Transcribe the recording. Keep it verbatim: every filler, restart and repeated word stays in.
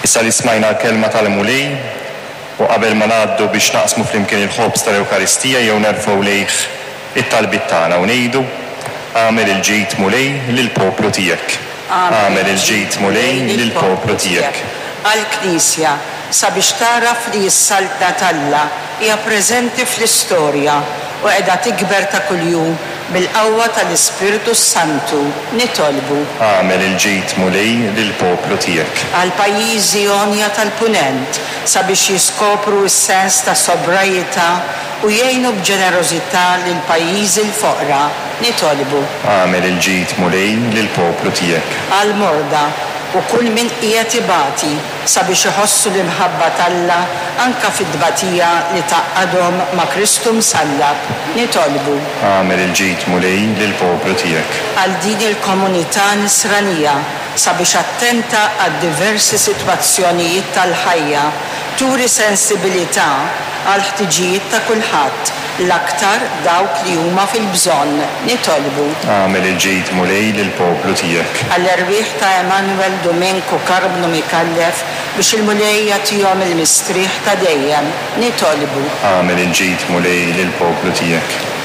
Issa li smajna l-kelma tal-Mulej u qabel ma ngħaddu biex naqsmu flimkien il-ħobż tal-Ewkaristija jew nerfgħu lejh it-talbiet tagħna u ngħidu: Agħmel il-ġid, Mulej, lill-poplu tiegħek. Agħmel il-ġid, Mulej, lill-poplu tiegħek. Għall-Knisja, sabiex tagħraf li s-Saltna t'Alla hija preżenti fl-istorja u qiegħda tikber ta' kuljum bil-qawwa tal-Ispirtu Santu, nitolbu. Agħmel il-ġid, Mulej, lill-poplu tiegħek. Għall-pajjiżi għonja tal-Punent, sabiex jiskopru s-sens ta' sobrajità u jgħinu b'ġenerożità lill-pajjiżi l-foqra, nitolbu. Agħmel il-ġid, Mulej, lill-poplu tiegħek. Għall-morda u kull min qiegħed ibati, sabiex iħossu l-imħabba t'Alla anka fit-tbatija li tgħaqqadhom ma' Kristu msallab, nitolbu. Agħmel il-ġid, Mulej, lill-poplu tiegħek. Għal din il-komunità nisranija, sabiex attenta għad diversi sitwazzjonijiet tal-ħajja, turi sensibilità għall-ħtiġijiet ta' kulħadd, l-aktar dawk li huma fil-bżonn, nitolbu. Agħmel il-ġid, Mulej, lill-poplu tiegħek. Għall-erwieħ ta' Emanuel Domenico Carbno Micallef, biex il-Mulej jagħtihom il-mistrieħ ta' dejjem, nitolbu. Agħmel il-ġid, Mulej, lill-poplu tiegħek.